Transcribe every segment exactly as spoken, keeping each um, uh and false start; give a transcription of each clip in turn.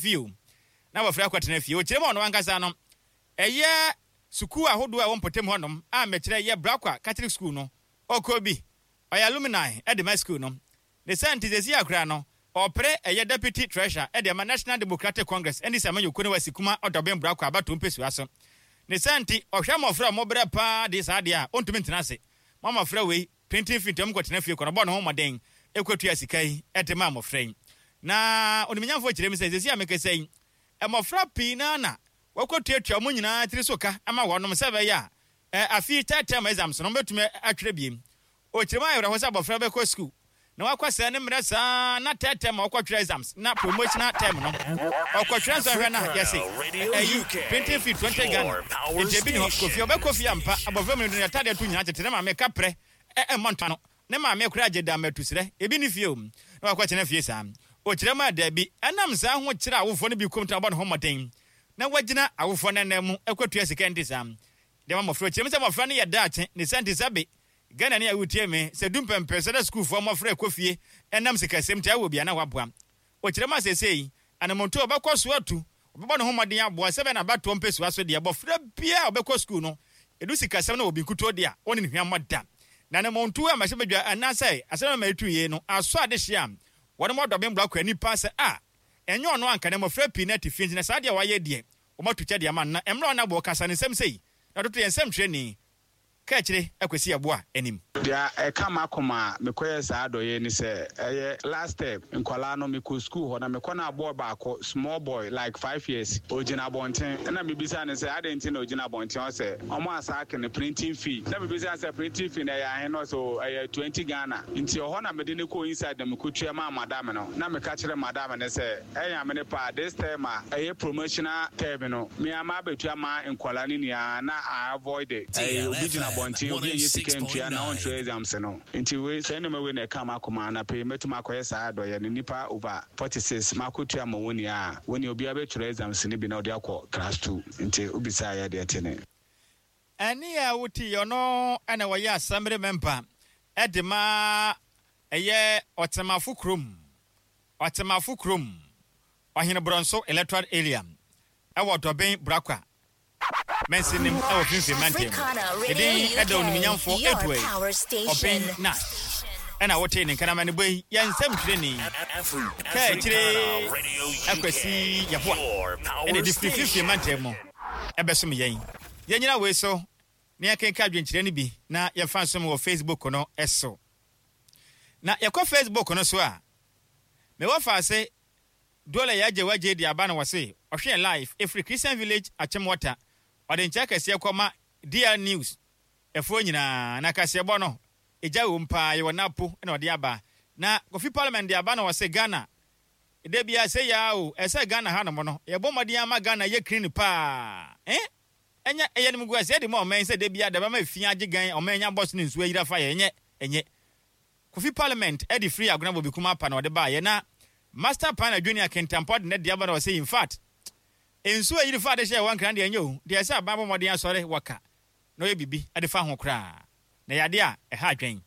Fie o, na abɔfra akɔtena fie. Ɔkyerɛ mu a, ɔno ankasa no ɛyɛ sukuu ahodoɔ a ɛwɔ mpɔtam hɔnom a mɛkyerɛ yɛ Brakwa Catholic School no, ɔkɔ bi, ɔyɛ alumni ɛde ma school no. Ne sɛ nti sɛsi akora no ɔpere ɛyɛ deputy treasurer ɛde ama National Democratic Congress ɛne Samanyɔkuo no wasi kuma Ɔdɔben Brakwa abato mpɛsua so. Ne sɛ nti ɔhwɛ mmɔfra a ɔmɔbrɛ paa de saa deɛ a ɔntumi ntena ase ma mmɔfra wei printing fee nti ɔmkɔtena fie kɔ no, ɔbɔ ne ho mmɔden ɛkɔtua sika yi ɛde ma mmɔfra yi. Na onimnyamfoɔ kyerɛ mu sɛ sɛsi a mekasa yi, mmɔfra pii naa na wɔkɔtuatua mu nyinaa tiri so ka ama wɔnom sɛ ɛbɛyɛ a afei third term exams no wɔbɛtumi atwerɛ biem. Ɔkyerɛ mu ayɛwerɛho sɛ abɔfra bɛkɔ school na wakɔ sɛ ne mmerɛ saa na third term a wɔkɔtwerɛ exams na promotional term no ɔkɔtwerɛ nsɔhwɛ no a yɛse ɛyi printing fee twenty Ghana, nti ebi ne hɔ kofi ɔbɛkɔ fie ampa. Abɔfra mu no yɛtadeɛ to nyinaa tete ne maame kaprɛ ɛmmɔ ntoa no, ne maame koraa gye da mmatusrɛ ebi ne fie o na wakɔkyena fie saa. Ɔkyerɛ mu a daabi, ɛnam saa ho kyerɛ awofoɔ no bi kom tena ɔbɔ ne ho mmɔden na wagyina awofoɔ no anan mu ɛkɔtua sika nti saa deɛ ma mmɔfra. Ɔkyerɛ mu sɛ mmɔfra no yɛ daakye ne sɛ nti sɛ be Ghana ne a wotie me sɛ du mpɛmpɛ sɛ dɛ sukuufoɔ mmɔfra ɛkɔ fie ɛnam sikasɛm nti awɔ bia na waboa. Ɔkyerɛ mu a seesei anamonto a ɔbɛkɔ so atu, ɔbɛbɔ ne ho mmɔden aboa sɛ bɛ na abatoɔ mpɛsua so deɛ bɔfra biara a ɔbɛkɔ sukuu no ɛdu sikasɛm no wɔ bi nkutuo deɛ a ɔne ne hwammɔ da. Na anamonto a mahyɛ badwa anaasɛ asɛm a maitu yie no asɔ adehye a wɔne mɔdɔben Brakwa nipa sɛ a ɛnyɛ ɔno anka na mmɔfra pii no ate fie, nti na saa deɛ wayɛ deɛ wɔmatu kyɛ deɛ ama no. Na mmerɛ ɔno abɔ kasa ne nsɛm sei na ɔtoto yɛn nsɛm twerɛni ka akyire akwasi aboa anim. Deɛ ɛka m'akoma a mekɔyɛ saa adɔyɛ ni sɛ ɛyɛ last step nkwalaa no mekɔ school hɔ na mekɔ no aboɔ baako, small boy like five years, ogyina abɔnten. Ɛna mebisa ne sɛ adɛn nti na ogyina abɔnten? Ɔsɛ ɔmo asaake ne printing fee. Na mebisa sɛ printing fee na ɛyɛ ahe? No ɔsɛ ɛyɛ twenty Ghana. Nti ɔhɔ na mede ne kɔ inside na mekɔtua maa madam no. Na meka kyerɛ madam ne sɛ ɛyɛ ame ne paa this term a ɛyɛ promotional term no, me ama abɛtua ma nkwalaa no nyinaa na I avoid it. Ɛyɛ obi gyina abɔnten, obi ɛnyɛ sika ntua na ɔntwerɛ exams no. Nti wei sɛ nneɛma wei na ɛka ma akoma anapɛ mɛtumi akɔyɛ saa adɔyɛ no, nipa over forty six makɔtua ma wɔn nyinaa, wɔn nyinaa obiara bɛtwerɛ exams no bi na ɔde akɔ class two. Nti obisa yɛ deɛ te ne. Ɛne a wote yɛ ɔno ɛna wɔyɛ assembly member ɛde ma ɛyɛ Ɔtɛmafo kurom, Ɔtɛmafo kurom Ɔhene Borɔnso electoral area ɛwɔ Dɔbɛn Brakwa mɛnsinim ɛwɔ Finfin mantam. Ɛdin ɛda onimnyamfo Edward Ɔbɛn Nash ɛna wote ne nkanama ne bɔ yi yɛ nsɛm twerɛni ka akyire Akwasi Yɛboa ɛna ɛde firi Finfin mantam mu ɛbɛsom yɛn. Yɛnyina wei so na yɛkenka adwenkyerɛ no bi na yɛmfa nsom wɔ Facebook no so. Na yɛkɔ Facebook no so a, mewɔ faase Dole yɛagye wagye de aba no wɔ se ɔhwɛ live ɛfiri Christian Village Achimota. Ɔde nkyɛ kɛseɛ kɔma D L News ɛfoɔ nyinaa na kaseɛbɔ no ɛgya wɔ mu paa. Yɛwɔ napo na ɔde aba. Na Kofi Parliament de aba no wɔ se Ghana da bia sɛ yaa o, ɛsɛ Ghana hanom no yɛbɔ mmɔden ama Ghana yɛ clean paa. Eh, ɛnyɛ ɛyɛ no mu gu ɛsɛ de ma ɔman sɛ da bia da bɛma efi agye gan ɔman nya bɔs ne nsuo ayira fa yɛ. Ɛnyɛ ɛnyɛ Kofi Parliament ɛde firi Agona Bobi Kuma apa na ɔde baayɛ. Na Master Pana Junior Kentampɔ de ne de aba na ɔsɛ in fact nsuo ayiri fa ade hyɛ ɛwɔ Nkran deɛ ɛnyɛ o deɛ, ɛsɛ aban bɔ mmɔden asɔre wɔka na ɔyɛ bibi ɛde fa ho koraa na yɛade a ɛha adwɛn.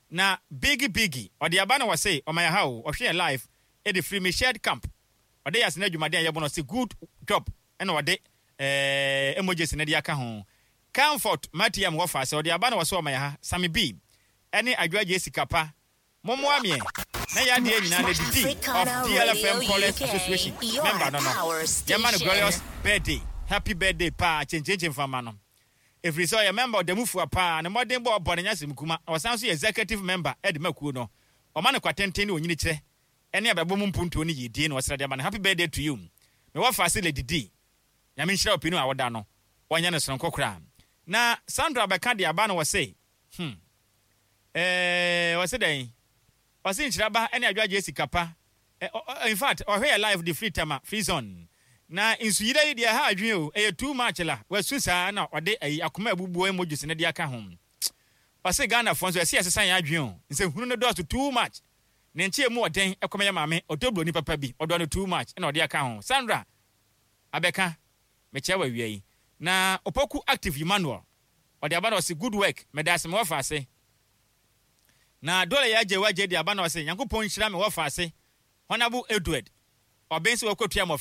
Na Bigi Bigi ɔde aba na wɔse ɔman ha o, ɔhwɛ yɛn live ɛde firi Michelle Camp. Ɔde yɛ asene adwumaden a yɛbɔ no, ɔse good job, ɛna ɔde ɛɛ emojis ne de aka ho. Comfort Matiam wɔ fa sɛ ɔde aba na wɔsɛ ɔman ha Sami B ɛne Adwoagye Sikapa mommoa meɛ na yɛ adeɛ nyinaa na didi of D L F M Callers Association member no no yɛma no glorious birthday, happy birthday paa kyenkyenkyen fama no, ɛfiri sɛ ɔyɛ member ɔdamufua paa ne mmɔden bɔ ɔbɔ ne nyasɛm kuma na ɔsan so yɛ executive member ɛde ma kuo no. Ɔma no kwatenten ne onyini kyerɛ ɛne abrabɔ mu mpuntuo ne yidie na ɔsrɛ de ama no. Happy birthday to you, mewɔ fa ase Lady D. Nyame nhyira wo pii no a woda no ɔnyɛ no sononko koraa. Na Sandra bɛka de aba no wɔ se hmm ɛɛ wɔse dɛn? Ɔse nhyiraba ne Adwagye sika pa. In fact, ɔhwɛ yɛ live de free Tama Free Zone. Na nsuyire yi deɛ ɛha adwene o, ɛyɛ too much la wasu saa na ɔde ayi akoma abubuo emojis ne de aka ho. Ɔse Ghanafoɔ nso ɛsɛ yɛsesa yɛn adwene o, nsɛnhunu no dɔɔso too much. Ne nkyɛn mu ɔden ɛkɔmɛ yɛ maame ɔdɔ buroni papa bi, ɔdɔ no too much, ɛna ɔde aka ho. Sandra abɛka mekyɛ wɔ awia yi. Na Opoku Active Emmanuel ɔde aba na ɔse good work, mɛda ase mewɔ fa ase. Na Dole yɛ agye wagye de aba na ɔse Nyankopɔn nhyira me wɔ fa ase Honorable Edward Ɔbɛn sɛ wɔkɔtua mmɔfra.